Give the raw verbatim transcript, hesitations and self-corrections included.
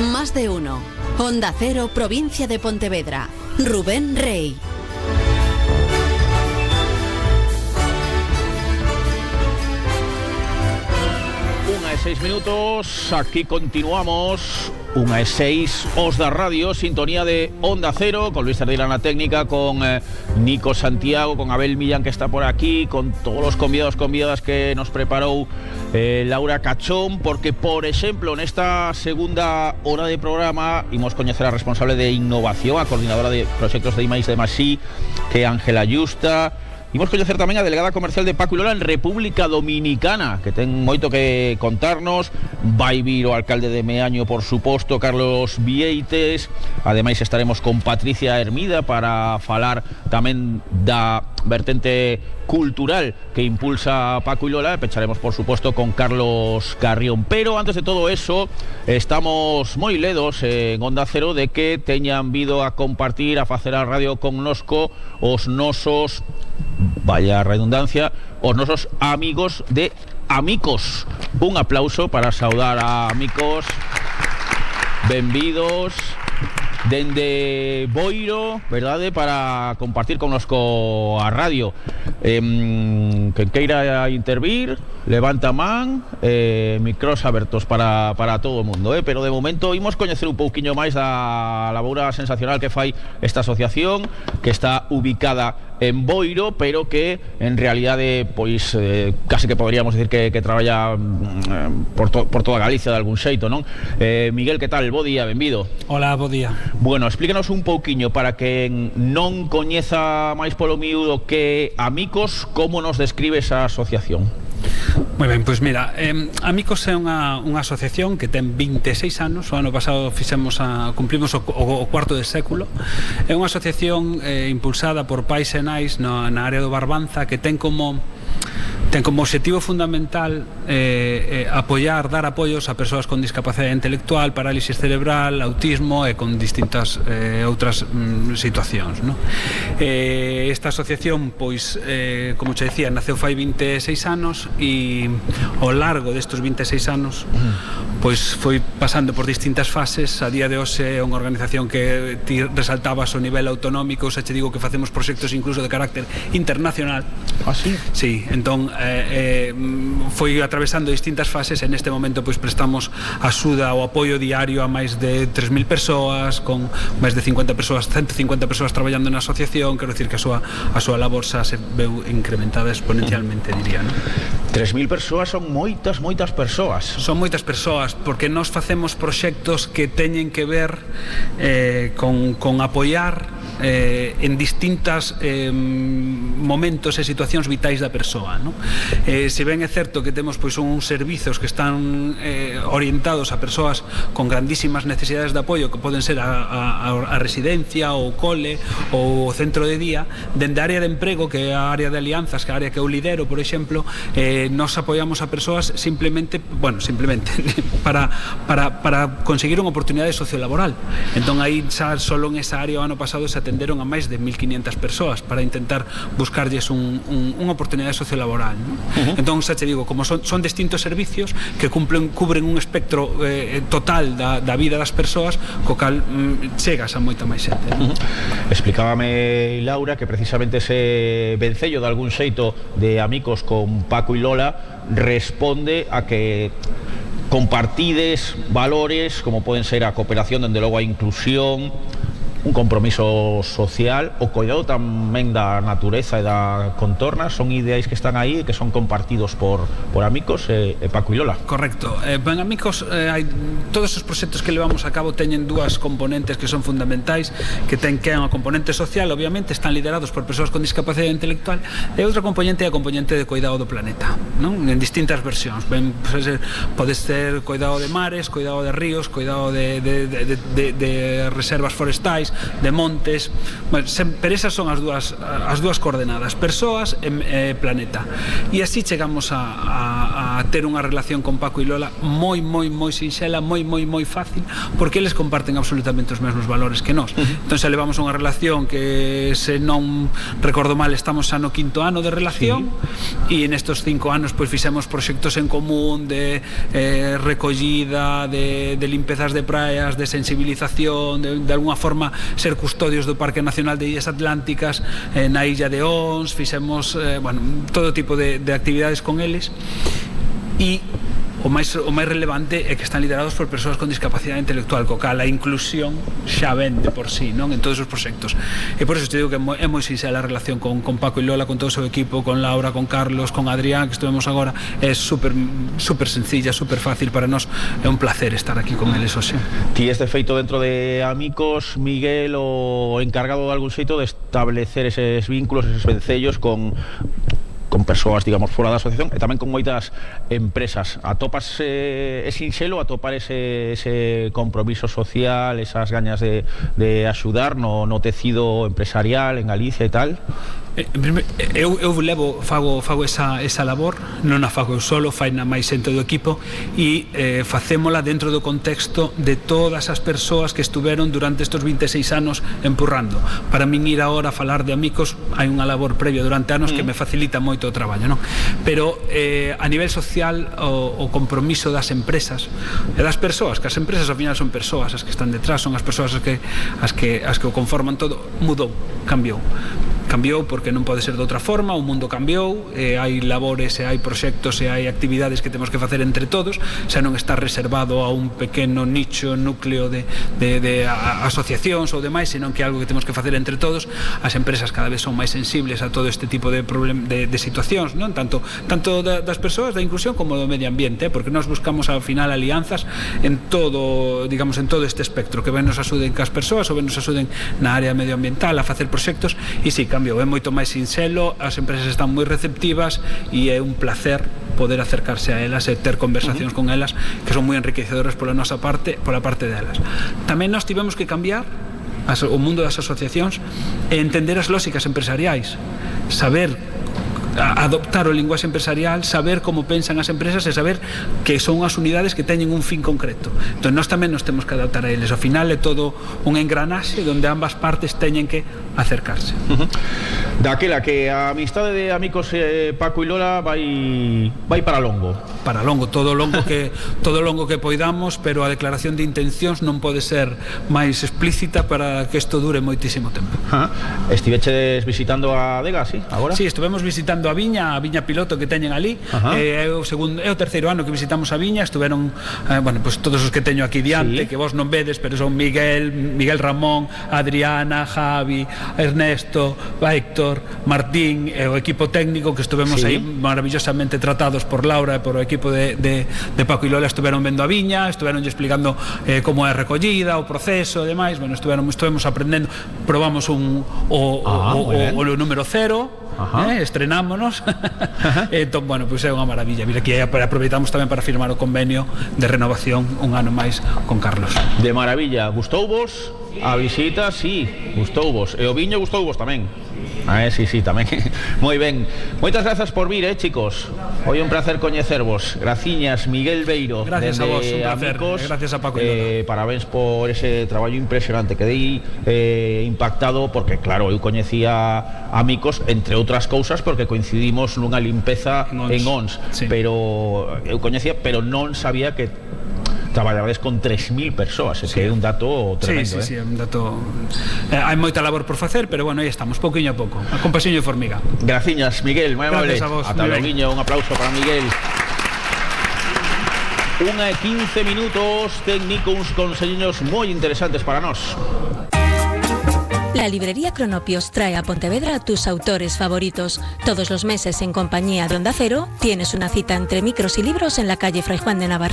Más de uno. Onda Cero, provincia de Pontevedra. Rubén Rey. Una e seis minutos, aquí continuamos. Una e seis, Os da Radio, sintonía de Onda Cero, con Luis Cerdeira na técnica, con eh, Nico Santiago, con Abel Millán que está por aquí, con todos los convidados, convidadas que nos preparou eh, Laura Cachón, porque, por exemplo, nesta segunda hora de programa imos coñecer a responsable de innovación, a coordinadora de proxectos de I máis D máis I, que é Ángela Yusta. Imos coñecer tamén a delegada comercial de Paco y Lola en República Dominicana, que ten moito que contarnos. Vai vir o alcalde de Meaño, por suposto, Carlos Vieites. Ademais estaremos con Patricia Hermida para falar tamén da vertente cultural que impulsa Paco y Lola. Pecharemos, por supuesto, con Carlos Carrión. Pero antes de todo eso, estamos moi ledos en Onda Cero de que teñan vido a compartir, a facer a radio connosco os nosos, vaya redundancia, os nosos amigos de Amicos. Un aplauso para saudar a Amicos. Benvidos dende Boiro, verdade, para compartir connosco a radio. eh, Quen queira intervir, levanta man, eh, micros abertos para, para todo o mundo, eh? Pero de momento imos coñecer un pouquiño máis da labora sensacional que fai esta asociación, que está ubicada en Boiro, pero que en realidade pois eh, casi que poderíamos decir que, que traballa mm, por, to, por toda Galicia de algún xeito, non? eh, Miguel, que tal? Bo día, benvido. Hola, bo día. Bueno, explícanos un pouquiño para que non coñeza máis polo miúdo que Amicos, como nos describe esa asociación. Moi ben, pois mira, eh, Amicos é unha, unha asociación que ten vinte e seis anos. O ano pasado fixemos a, cumplimos o, o, o cuarto de século. É unha asociación eh, impulsada por pais e nais no, na área do Barbanza, que ten como ten como objetivo fundamental eh, eh, apoiar, dar apoios a persoas con discapacidade intelectual, parálisis cerebral, autismo e con distintas eh, outras mm, situacións, no? eh, Esta asociación, pois, eh, como che decía, naceu fai vinte e seis anos, e ao largo destes vinte e seis anos pois foi pasando por distintas fases. A día de hoxe é unha organización que ti resaltabas o nivel autonómico. Xa che digo que facemos proxectos incluso de carácter internacional. Ah, sí? Sí, entón eh, eh, foi atravesando distintas fases. En este momento pois prestamos axuda ou apoio diario a máis de tres mil persoas, con máis de cincuenta persoas, ciento cincuenta persoas traballando na asociación. Quero dicir que a súa, a súa labor xa se veu incrementada exponencialmente, diría, non? tres mil persoas son moitas, moitas persoas. Son moitas persoas, porque nós facemos proxectos que teñen que ver eh, con, con apoiar eh, en distintas eh, momentos e situacións vitais da persoa, non? Eh, se ben é certo que temos pois uns servizos que están eh, orientados a persoas con grandísimas necesidades de apoio, que poden ser a, a, a residencia, ou cole, ou o centro de día. Dende a área de emprego, que é a área de alianzas, que é a área que eu lidero, por exemplo, eh, nos apoiamos a persoas simplemente, bueno, simplemente para, para, para conseguir unha oportunidade sociolaboral. Entón aí xa solo en esa área o ano pasado se atenderon a máis de mil quinientas persoas para intentar buscarlles un, un, unha oportunidade sociolaboral, ¿no? Uh-huh. Entón xa te digo, como son, son distintos servicios que cumplen, cubren un espectro eh, total da, da vida das persoas, co cal mm, chegas a moita máis xente, ¿no? Uh-huh. Explicábame Laura que precisamente ese vencello de algún xeito de Amicos con Paco y Lola responde a que compartides valores como poden ser a cooperación, dende logo a inclusión, un compromiso social, o cuidado tamén da natureza e da contorna. Son ideais que están aí e que son compartidos por, por Amicos e, e Paco y Lola. Correcto. Eh, ben, Amicos, eh, hai, todos os proxectos que levamos a cabo teñen dúas componentes que son fundamentais, que ten que é unha componente social, obviamente, están liderados por persoas con discapacidade intelectual, e outra componente é a componente de cuidado do planeta, non? En distintas versións. Ben, pode ser, pode ser cuidado de mares, cuidado de ríos, cuidado de, de, de, de, de reservas forestais, de montes. Bueno, pero esas son as dúas, as dúas coordenadas, persoas e eh, planeta. E así chegamos a, a, a ter unha relación con Paco e Lola moi, moi, moi sinxela, moi, moi, moi fácil, porque eles comparten absolutamente os mesmos valores que nós. Entón, se levamos unha relación que, se non recordo mal, estamos xa no quinto ano de relación, sí. E nestos cinco anos pois fixemos proxectos en común de eh, recollida, de, de limpezas de praias, de sensibilización, de, de alguna forma ser custodios do Parque Nacional de Illas Atlánticas, eh, na illa de Ons, fixemos eh, bueno, todo tipo de, de actividades con eles, e o máis, o máis relevante é que están liderados por persoas con discapacidade intelectual, co cal a inclusión xa vende por sí, non, en todos os proxectos. E por eso te digo que é moi, é moi sinxela a relación con, con Paco e Lola, con todo o seu equipo, con Laura, con Carlos, con Adrián, que estuvemos agora. É super, super sencilla, super fácil para nós. É un placer estar aquí con eles hoxe. Ti este feito dentro de Amicos, Miguel, o encargado de algún xeito de establecer eses vínculos, eses vencellos con con persoas, digamos, fora da asociación e tamén con moitas empresas. Atopas eh, é sinxelo atopar ese, ese compromiso social, esas gañas de, de axudar no, no tecido empresarial en Galicia e tal? Eu, eu levo, fago, fago esa, esa labor, non a fago eu solo, fai na máis xente do equipo, e eh, facémola dentro do contexto de todas as persoas que estuveron durante estes vinte e seis anos empurrando. Para min ir agora a falar de Amicos hai unha labor previa durante anos mm. que me facilita moito o traballo, non? Pero eh, a nivel social o, o compromiso das empresas e das persoas, que as empresas ao final son persoas as que están detrás, son as persoas as que, as que, as que o conforman todo, mudou, cambiou. Cambiou porque non pode ser de outra forma, o mundo cambiou, e hai labores e hai proxectos e hai actividades que temos que facer entre todos, xa non está reservado a un pequeno nicho, núcleo de, de, de a, asociacións ou demais, senón que é algo que temos que facer entre todos. As empresas cada vez son máis sensibles a todo este tipo de, problem, de, de situacións, non? Tanto, tanto da, das persoas, da inclusión, como do medio ambiente, eh? Porque nós buscamos ao final alianzas en todo, digamos, en todo este espectro, que ben nos axuden cas persoas ou ben nos axuden na área medioambiental a facer proxectos, e si, cambiou, é moito máis sinxelo, as empresas están moi receptivas e é un placer poder acercarse a elas e ter conversacións uh-huh. con elas que son moi enriquecedoras pola nosa parte, pola parte delas. Tamén nós tivemos que cambiar as, o mundo das asociacións e entender as lógicas empresariais, saber adoptar o linguaxe empresarial, saber como pensan as empresas e saber que son as unidades que teñen un fin concreto. Entón, nós tamén nos temos que adaptar a eles. Ao final é todo un engranaxe onde ambas partes teñen que acercarse. Uh-huh. Daquela que a amistade de Amicos eh, Paco e Lola vai vai para longo. Para longo, todo longo que todo longo que poidamos, pero a declaración de intencións non pode ser máis explícita para que isto dure moitísimo tempo. Uh-huh. Estiveches visitando a Adega, sí, agora? Sí, estivemos visitando a Viña, a Viña Piloto que teñen ali. eh, é, o segundo, é o terceiro ano que visitamos a Viña. Estuveron, eh, bueno, pues todos os que teño aquí diante, sí. que vos non vedes, pero son Miguel, Miguel Ramón, Adriana, Javi, Ernesto, Héctor, Martín e o equipo técnico que estuvemos sí. aí maravillosamente tratados por Laura e por o equipo de, de, de Paco e Lola. Estuveron vendo a Viña, estuveron explicando eh, como é a recollida, o proceso e demais. Bueno, estuveron, estuvemos aprendendo, probamos un o, ah, o, o, o, o número cero. Eh, estrenámonos. Entón, bueno, pois pues é unha maravilla. Mira, aquí aproveitamos tamén para firmar o convenio de renovación un ano máis con Carlos. De maravilla. Gustouvos a visita? Sí, gustouvos. E o viño gustouvos tamén. Ah, sí, sí, tamén. Moi ben. Moitas grazas por vir, eh, chicos. Hoy un placer coñecervos. Graciñas, Miguel Beiro. Gracias a vos, un placer. Amicos. Gracias a Paco y Lola. Eh, parabéns por ese traballo impresionante. Quedei eh, impactado porque, claro, eu coñecía Amicos, entre outras cousas, porque coincidimos nunha limpeza en Ons, en Ons sí. pero eu coñecía, pero non sabía que traballades con tres mil persoas, é sí. que é un dato tremendo. Sí, sí, eh? sí, é un dato. Eh, hai moita labor por facer, pero bueno, aí estamos, pouquiño a pouco, con pasiño e formiga. Graciñas, Miguel, moi amable. Gracias a vos. Ata loguiño, un aplauso para Miguel. Unha e quince minutos, técnicos uns conselliños moi interesantes para nós. La librería Cronopios trae a Pontevedra a tus autores favoritos. Todos los meses, en compañía de Onda Cero, tienes una cita entre micros y libros en la calle Fray Juan de Navarrete